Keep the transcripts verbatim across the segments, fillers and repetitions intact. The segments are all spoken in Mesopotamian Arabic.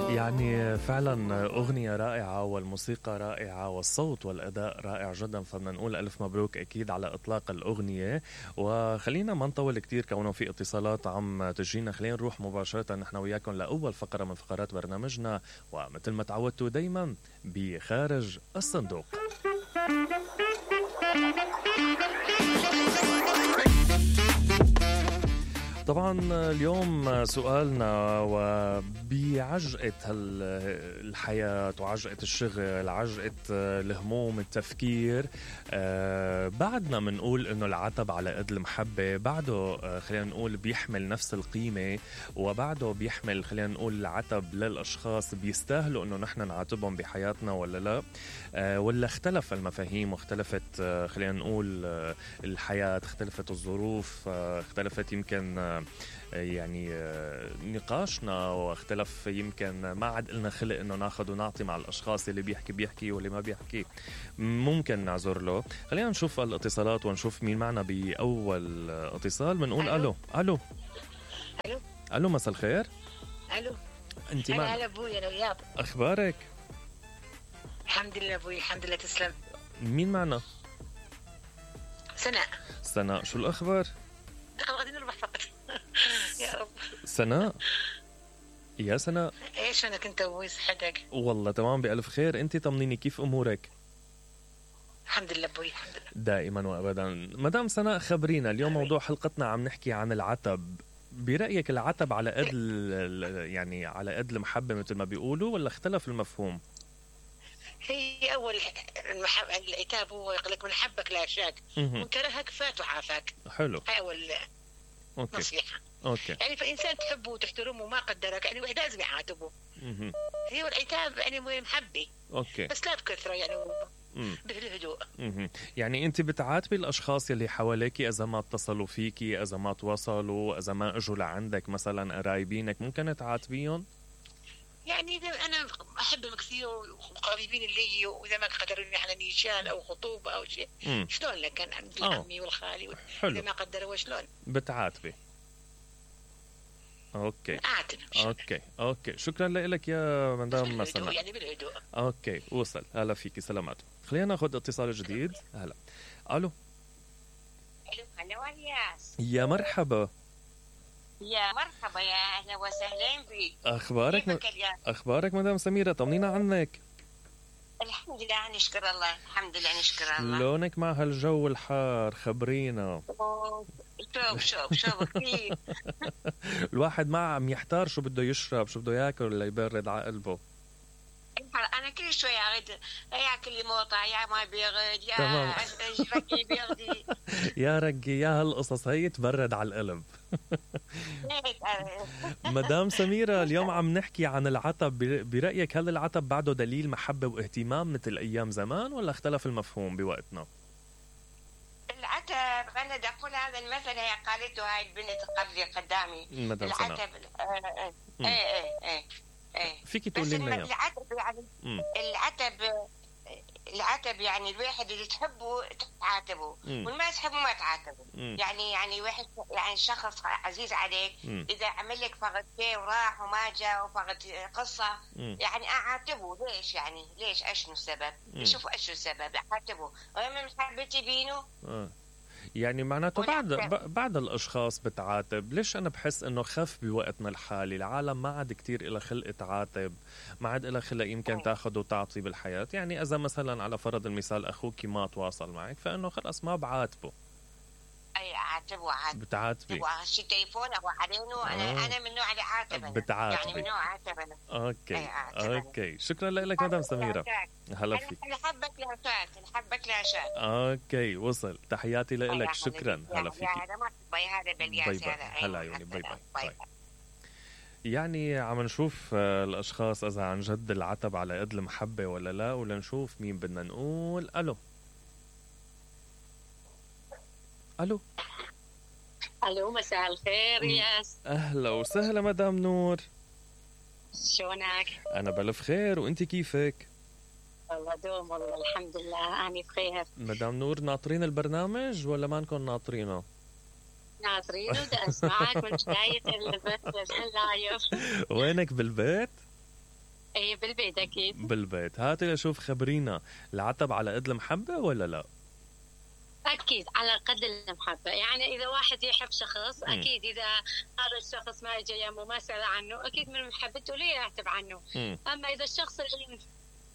يعني فعلا أغنية رائعة والموسيقى رائعة والصوت والأداء رائع جدا، فبدنا نقول ألف مبروك أكيد على إطلاق الأغنية. وخلينا ما نطول كتير كونه في اتصالات عم تجينا، خلينا نروح مباشرة نحن وياكم لأول فقرة من فقرات برنامجنا، ومثل ما تعودتوا دايما بخارج الصندوق. طبعا اليوم سؤالنا وبعجقة الحياة وعجقة الشغل، عجقة الهموم، التفكير، أه بعدنا منقول انه العتب على قد المحبة بعده أه خلينا نقول بيحمل نفس القيمة، وبعده بيحمل خلينا نقول العتب للأشخاص بيستاهلوا انه نحن نعاتبهم بحياتنا ولا لا، أه ولا اختلف المفاهيم واختلفت أه خلينا نقول أه الحياة، اختلفت الظروف، أه اختلفت يمكن أه يعني نقاشنا، واختلف يمكن ما عاد لنا خلق انه ناخذ ونعطي مع الاشخاص اللي بيحكي بيحكي واللي ما بيحكي ممكن نعذر له. خلينا نشوف الاتصالات ونشوف مين معنا باول اتصال. بنقول الو الو الو الو مساء الخير. الو انت معنا؟ معنا؟ هلا ابوي، انا وياك. اخبارك؟ الحمد لله ابوي، الحمد لله. تسلم. مين معنا؟ سناء. سناء، شو الاخبار؟ غادي نربح فقط. يا رب. سناء يا سناء، ايش انا كنت ابوي؟ صحتك؟ والله تمام بألف خير. انت طمنيني كيف امورك؟ الحمد لله ابوي، الحمد لله دائما وابدا. مدام سناء خبرينا اليوم، موضوع حلقتنا عم نحكي عن العتب. برأيك العتب على قد يعني على قد المحبة مثل ما بيقولوا، ولا اختلف المفهوم؟ هي اول المحب... العتاب هو يقول لك من حبك لا شاك، من كرهك فات وعافاك. حلو. هاي اول أوكي. نصيحة. اوكي. يعني فإنسان تحبه وتحترمه وما قدرك، يعني واحد لازم يعاتبه. اها. هي العتاب يعني محبة. اوكي. بس لا بكثرة، يعني بالهدوء. اها. يعني انت بتعاتبي الاشخاص اللي حواليكي اذا ما اتصلوا فيكي، اذا ما تواصلوا، اذا ما اجوا لعندك مثلا قرايبينك، ممكن تعاتبيهم؟ يعني إذا أنا أحبهم كثير وقريبين اللي، وإذا ما قدروني على نيشان أو خطوبة أو شيء، شلون لك كان عند العمي والخالي، إذا ما قدروا شلون بتعاتبي؟ اوكي. اعتذر. اوكي اوكي شكرا لك يا مدام سناء. يعني بالهدوء. اوكي وصل. هلا فيكي، سلامات. خلينا ناخذ اتصال جديد. هلا. الو الو هلا والياس. يا مرحبا. يا مرحبا، يا اهلا وسهلا بك. اخبارك م... اخبارك مدام سميرة، طمنينا عنك. الحمد لله نشكر الله، الحمد لله نشكر الله. لونك مع هالجو الحار، خبرينا. شوف شوف شوف كثير. الواحد ما عم يحتار شو بده يشرب، شو بده ياكل ولا يبرد على قلبه. انا كل شوي اريد ياكل لي موطع، يا ما بيرد، يا رقي بيردي. يا رقي يا هالقصص هي تبرد على القلب. مدام سميرة، اليوم عم نحكي عن العتب. برأيك هل العتب بعده دليل محبة واهتمام مثل أيام زمان، ولا اختلف المفهوم بوقتنا؟ العتب أنا بدي أقول هذا المثل هي قالته هاي البنت قبلي قدامي. مدام العتب ايه ايه ايه ايه فيكي تقولي لنا العتب يعني مم. العتب العتب يعني الواحد اللي تحبه تعاتبه، واللي ما تحبه ما تعاتبه. مم. يعني يعني واحد يعني شخص عزيز عليك، مم. اذا عمل لك فقط شيء وراح وما جاء وفقط قصه، مم. يعني اعاتبه. ليش يعني ليش اشنو السبب؟ شوفوا اشنو السبب، اعاتبه. وما مش حبيتي بينه. آه. يعني معناته بعد بعد الاشخاص بتعاتب. ليش انا بحس انه خف بوقتنا الحالي، العالم ما عاد كتير إلى خلق تعاتب، ما عاد إلى خلق يمكن تاخذ وتعطي بالحياه. يعني اذا مثلا على فرض المثال اخوك ما تواصل معك، فانه خلاص ما بعاتبه. اي اعاتبه عاتب. بتعاتبي شي تليفون او علينه. انا آه. انا من نوع اللي عاتب. بتعاتبي يعني من نوع عاتب انا. اوكي اوكي شكرا لك مدام سميرة. هلا فيك. الحبك لا شات، الحبك لا شات. اوكي وصل. تحياتي لك. شكرا. هلا فيك. باي هذا بالياس هذا. هلا عيوني. باي باي, باي. يعني عم نشوف الاشخاص اذا عن جد العتب على قد المحبة ولا لا، ولا نشوف مين بدنا نقول. الو الو الو مساء الخير ياس. اهلا وسهلا مدام نور. شلونك؟ انا بألف خير، وانت كيفك؟ والله دوم، والله الحمد لله انا بخير. مدام نور، ناطرين البرنامج ولا ما نكون ناطرينه؟ ناطرينه، بدي اسمعك من بداية البث اللايف. وينك بالبيت؟ ايه بالبيت اكيد. بالبيت. هاتي لشوف خبرينا، العتب على قد المحبة ولا لا؟ اكيد على قد المحبه. يعني اذا واحد يحب شخص م. اكيد اذا هذا الشخص ما اجى يمه ما سال عنه اكيد من محبته ليه يعتب عنه. م. اما اذا الشخص اللي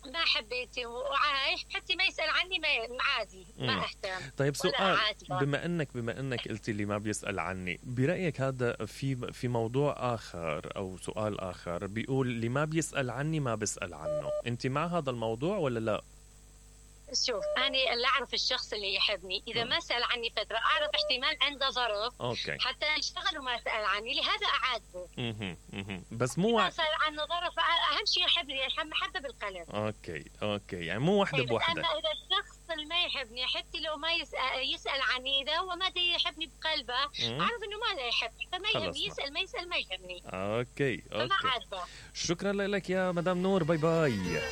ما حبيتي وعايش حتى ما يسال عني ما عادي ما اهتم. طيب سؤال، بما انك بما انك قلتي لي ما بيسال عني، برايك هذا في في موضوع اخر او سؤال اخر بيقول اللي ما بيسال عني ما بسال عنه، انت مع هذا الموضوع ولا لا؟ شوف أنا اللي أعرف الشخص اللي يحبني إذا ما سأل عني فترة أعرف احتمال عنده ظرف أوكي. حتى يشتغل وما سأل عني لهذا أعاتبه. اها اها بس مو ما سأل عنه ظرف أهم شيء يحبني محبة بالقلب. أوكي أوكي يعني مو وحدة بوحدة. أما إذا الشخص اللي ما يحبني حتى لو ما يسأل, يسأل عني إذا هو ما دي يحبني بقلبه أعرف إنه ما لا يحبني فما يهمني يسأل ما يسأل ما يهمني. أوكي أوكي فما عاتبه. شكرا لك يا مدام نور، باي باي.